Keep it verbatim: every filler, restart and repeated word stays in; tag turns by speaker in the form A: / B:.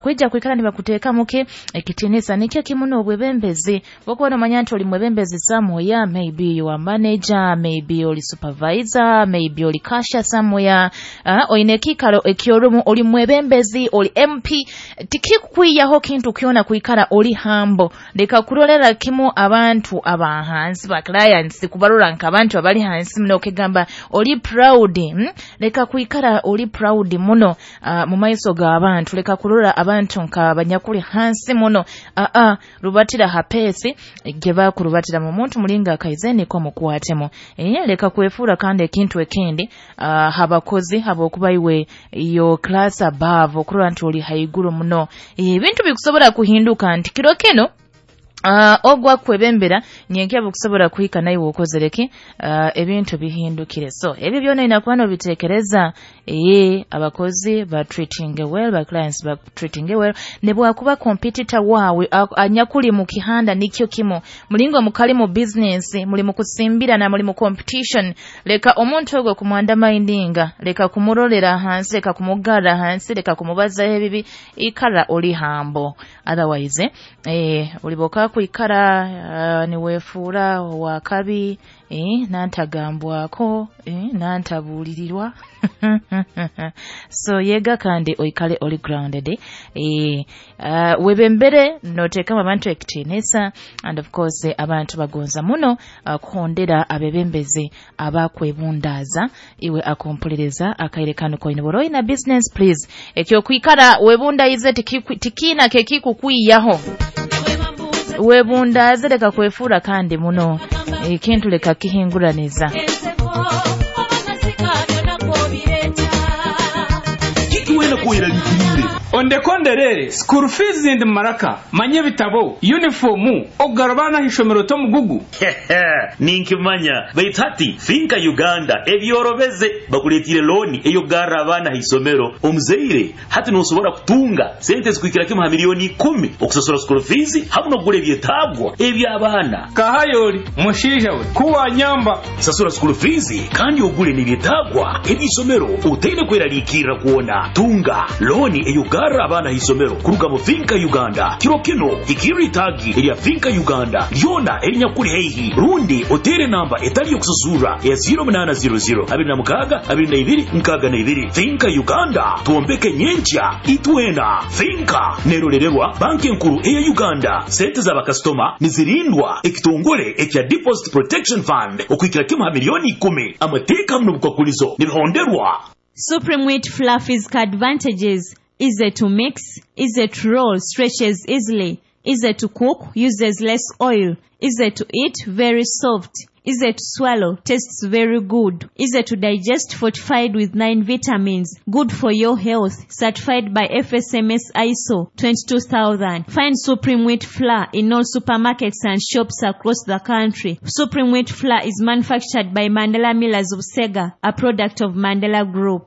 A: Nibakwija kwikara nibakuteekamu ki ekitiinisa. Nikyo kimu n'obwebembezi, bwokuba nomanya nti oli mwebembezi somewhere, maybe you are manager, maybe oli supervisor, maybe oli cashier somewhere, uh, oyine ekiikaro ekyorumu, oli mwebembezi, oli M P, tikikukwiyaho kintu kyona kwikara oli humble. Leka kurolera kimu abantu abahansi, ba clients, kubarora nk'abantu abali hansi muno, okegamba oli proud, hmm? Leka kwikara oli proud muno uh, mu maiso g'abantu. Leka kurora abantu nka banyakuli hansi muno. uh -uh, rubatira ha pace gye bakurubatira mu muntu mulinga akaize niko mukwatemu. eh, leka kwefuura kandi ekintu ekindi uh, habakozi habwokuba iwe yo class above, okurora nti oli haiguru muno. Ebintu bikusobola kuhinduka nti kiro kino Uh, ogwa kwebembera nyenkya bukusobola kuhika naiwe okozereki, uh, ebintu bihindukire. So ebyo byona ina kuba nobitekereza. Ee, abakozi ba treating well, ba clients ba treating well, ne bwakuba competitor wawe anyakuli mu kihanda nikyo kimu, mulingo mukali mu business, muli mu kusimbira na muli mu competition, leka omuntu ogwo kumwandamindinga, leka kumurolera hansi, leka kumugara hansi, leka kumubaza ebibi. Ikara oli humble, otherwise eh, uliboka kwikara uh, niwefuura wakabi, eh, nantagambwako, eh, nantabuulirirwa. So yega kandi oikale oli grounded. eh, uh, webembere noteekamu abantu ekitiinisa, and of course abantu bagonza muno uh, kuhondera abebembezi abakwebundaaza. Iwe akumpuliriza akaire kano koine bw'oba oyina business, please, ekyokwikara webundayize tikiina kekikukwiyaho. Webundaaze, leka kwefuura kandi muno, ekintu leka kihinguraniza.
B: Wena kweraliikirire.
C: Ondekonderere school fees ndi maraka manye bitabo, uniformu, okugarabana ishomero tomugugu.
B: Ninkimanya, baitu hati Finka Uganda ebyorobeze, bakuletire looni eyokugarra abaana haisomero. Omuzaire hati nosobora kutunga sente zikuhikira kimu ha miliyoni ikumi okusasura school fees hamu n'okugura ebyetaagwa eby'abaana.
C: Kahayoli mushiija we kuwanyamba.
B: Sasura school fees kandi ogule n'ebyetaagwa eby'isomero otaine kweraliikirra kwona. Tunga looni eyokugarra abaana haisomero kuruga mu Finka Uganda. Kiro kino hikirra itaagi erya Finka Uganda lyona erinyakuli haihi, rundi otere namba etali yokusasurra eya zero munaana zero zero abiri na mukaaga abiri na ibiri nkaaga na ibiri. Finka Uganda, twombeke nyenkya itwena. Finka nerorererwa banki enkuru eya Uganda. Sente z'abakasitoma nizirindwa ekitongole ekya Deposit Protection Fund okuhikira kimu ha miliyoni ikumi. Amateeka hamu n'obukwakulizo nibihonderwa.
D: Supreme Wheat Fluffy's advantages: easy to mix, easy to roll, stretches easily, easy to cook, uses less oil, easy to eat, very soft, easy to swallow, tastes very good, easy to digest, fortified with nine vitamins, good for your health, certified by F S M S I S O twenty-two thousand. Find Supreme Wheat Flour in all supermarkets and shops across the country. Supreme Wheat Flour is manufactured by Mandela Millers of Sega, a product of Mandela Group.